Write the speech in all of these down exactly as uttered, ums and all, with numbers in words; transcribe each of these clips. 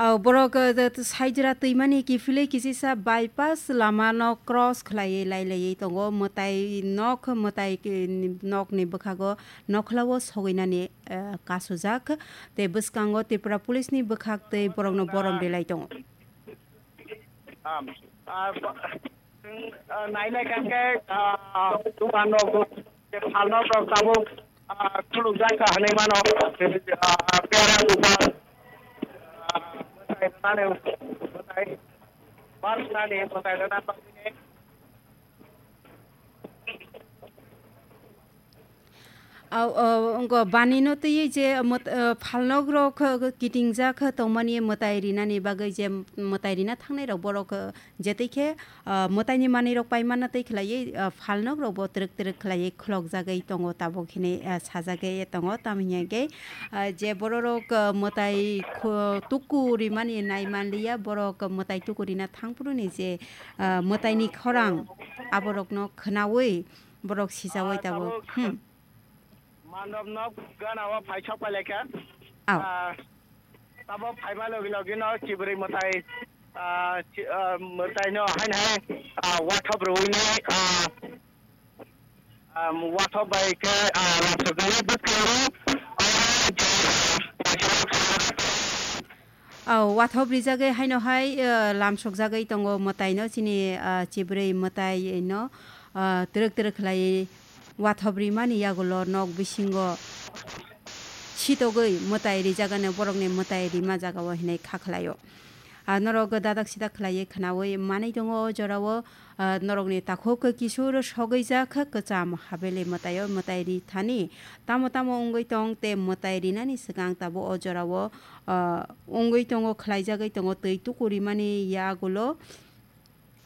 O borok, eh, de-, saijra twimani kiphilwi kisisa bypass lama no cross khlaiwi lailaiwi tongo. Mwtai nok, mwtai ki-, nok ni bwkhago nokhlao sogwinani, eh, kasujak. Tei bwskango Tripura Police ni bwkhak tei borokno borom relai tongo. Am, ah, ba-, ah, nainai kangke, ah, ah, dukan rok, je phalnok rok tabuk, ah, khulukjak kha hinwi mano, ah, pera dukan, ah, mwtai rwnani, mwtai, bar rwnani, mwtai rwna bagwini. Au, o, wngkha banino twiwi je mwt-, o, phalnokrok kitingjak tongmani mwtai rinani bagwi je mwtai rina thangnairok borok, o, jetwi khe, o, mwtaini manwirok paimanna twi khlaiwi, o, phalnokrokbo twrwk twrwk khlaiwi khulokjagwi tongo tabuk hinwi, o, sajagwi tongo. Tamo hinkhe, o, je bororok, o, mwtai khu-, tuku rimani nai manliya, borok mwtai tuku rina thangphuruni je, o, mwtaini khorang aborokno khwnawi borok sijawi tabuk. Hmm. Mandop no gana o phai sok pai laikha. Au. Ah, tabo phaima logi logi no chibrwi mwtai, ah, chi-, ah, mwtai no haino hai, ah, wathop rwui nai, ah, ah, wathop bai khe, ah, lamsok jagwi bwskango, ah, je, ah, Au, wathop rijagwi haino hai, ah, lamsok jagwi tongo mwtai no chini, ah, chibrwi mwtai no, ah, twrwk twrwk khlai wathop rimani yagulo nok bisingo sitogwi mwtai rijagano borokni mwtai rima jagao hinwi kha khlaio. Ah, norok dadak sidak khlaiwi khwnawi manwi tongo o jorao, ah, norokni takhuk kisur sogwijak kwcham habele mwtaio mwtai ri thani tamo tamo wngwi tong tei mwtai rinani swkang tabuk o jorao, ah, wngwi tongo, khlaijagwi tongo twi tuku rimani yagulo.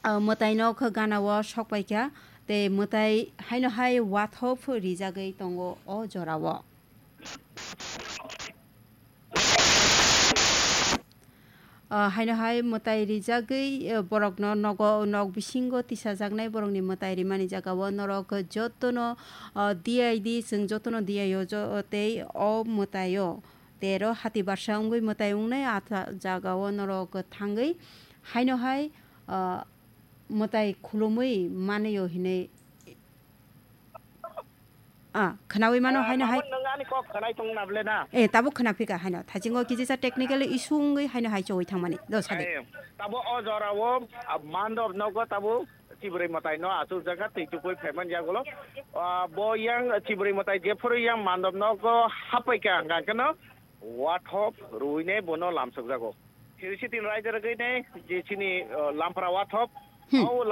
O mwtaino khe ganao sok paikha tei mwtai haino hai wathop rijagwi tongo o jorao. O haino hai mwtai rijagwi, o borokno nogo, nok bisingo tisajaknai borokni mwtai rimani jagao norok jotono, o D I D, chwng jotono D I O jo-, tei o mwtaio tero hati barsa wngwi mwtai wngnai atha jagao norok thangwi haino hai, ah, mwtai khulumwi manwi o hinwi, ah, khwnawi mano haino hai. Tamo nwng ani kok khwnai tong na ble na? Eh, tabuk khwna phika haino. Thachingo kisa technical issue wngwi haino hai chowi thangmani. Do sadi. Eh, tabo o jorao, ah, mandop nogo tabo chibrwi mwtai no achuk jagha twi tupui phaiman yagulo. Ah, bo yang chibrwi mwtai jephuru yang mandop nogo hapai ka hwnkha khe no wathop ruine bono lamsok jago. Siri sitin raida rwgwi ne je chini, ah, lampra wathop. Hmm. O